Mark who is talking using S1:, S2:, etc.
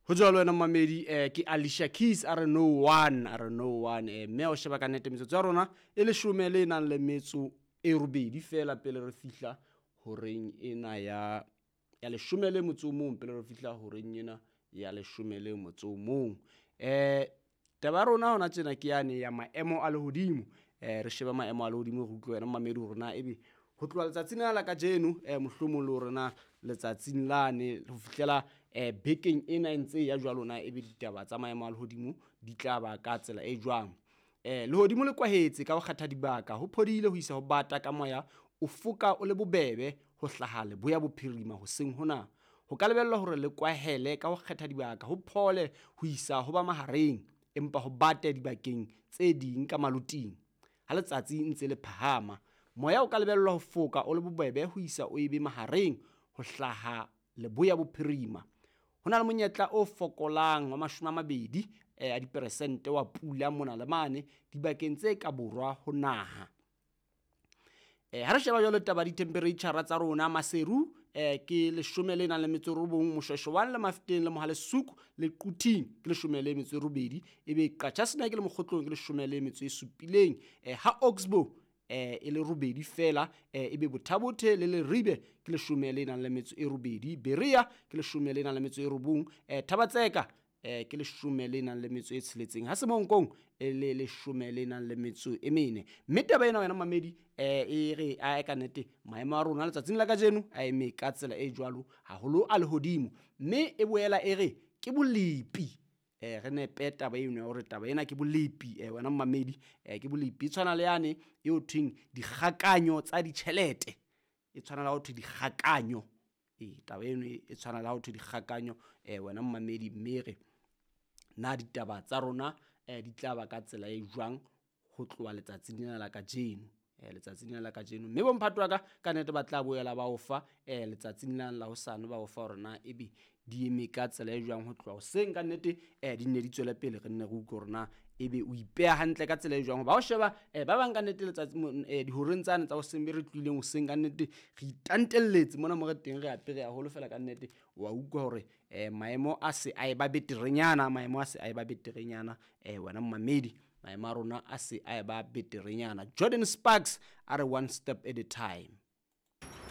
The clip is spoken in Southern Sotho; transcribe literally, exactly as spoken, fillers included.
S1: Ho jwalo wena mamedi, eh ke Alicia Keys a re no one, a re no one. eh Mme o sheba ka nnete metsotso ya rona e leshome le nang le metso e robedi fela pele re fihla horeng ena ya ya leshome le motso o mong, pele re fihla horeng ena ya leshome le motso o mong. Eh taba ya rona hona tjena ke yane ya maemo a lehodimo. Eh re sheba maemo a lehodimo, re utlwe wena mamedi hore na ebe ho tloha letsatsing lena la kajeno, eh mohlomong le hore na letsatsing lane ho fihlela eh bekeng ena e ntse ya jwalo, na ebe ditaba tsa maemo a lehodimo di tla ba ka tsela e jwang. Eh lehodimo le kwahetse ka ho kgetha dibaka, ho phodile ho isa ho bata ka moya o foka o le bobebe ho hlaha leboya bophirima hoseng hona. Ho ka lebellwa hore le kwahele ka ho kgetha dibaka, ho phole ho isa ho ba mahareng, empa ho bate dibakeng tse ding ka maloting. Ha letsatsi ntse le phahama, moya o ka lebellwa ho foka o le bobebe ho isa o ebe mahareng ho hlaha leboya bophirima. Ho na le monyetla o fokolang wa mashome a mabedi eh, a diperesente wa pula mona le mane dibakeng tse ka borwa ho naha. Eh, ha re sheba jwalo taba di-temperature tsa rona, Maseru eh, ke leshome le nang le metso e robong, Moshweshwe one le Mafeteng le Mohalesuku le Quthing ke leshome le metso e robedi, ebe Qacha's Nek le Mokgotlong ke leshome le metso e supileng, eh, ha Oxbow eh, e le robedi fela, eh, ebe Bothabothe le Leribe ke leshome le nang le metso e robedi, Berea ke leshome le nang le metso e robong, eh, Thabatseka eh, ke leshome le nang le metso e tsheletseng, ha Semonkong e le leshome le nang le metso e mene. Mme taba ena wena mamedi eh, e re a ka nnete maemo a rona letsatsing la kajeno a eme ka tsela e jwalo haholo a lehodimo, mme e boela e re ke bolepi. Eh, re nepe taba eno ya hore taba ena ke bolepi, eh, wena mamedi, eh, ke bolepi. E tshwana le yane eo thweng dikgakanyo tsa ditjhelete, e tshwana le ha ho thwe dikgakanyo. E taba eno e tshwana le ha ho thwe dikgakanyo, eh, wena mamedi, mme re na ditaba tsa rona eh, di tla ba ka tsela e jwang ho tloha letsatsing lena la kajeno, eh, letsatsing lena la kajeno. Mme bomphato wa ka ka nnete ba tla boela ba o fa eh, letsatsing lena la hosane, ba o fa hore na ebe di eme ka tsela e jwang ho tloha hoseng. Ka nnete eh, di nne di tswele pele, re nne re utlwe hore na ebe o ipeha hantle ka tsela e jwang. Hoba o sheba eh, ba bang ka nnete letsatsi eh, dihoreng tsane tsa hoseng be re tlohileng hoseng, ka nnete re itantelletse mona mo re teng, re apere haholo fela ka nnete wa utlwa hore eh, maemo a se a eba beterenyana, maemo a se a eba beterenyana, eh, wena mamedi, maemo a rona a se a eba beterenyana. Jordan Sparks a re one step at a time.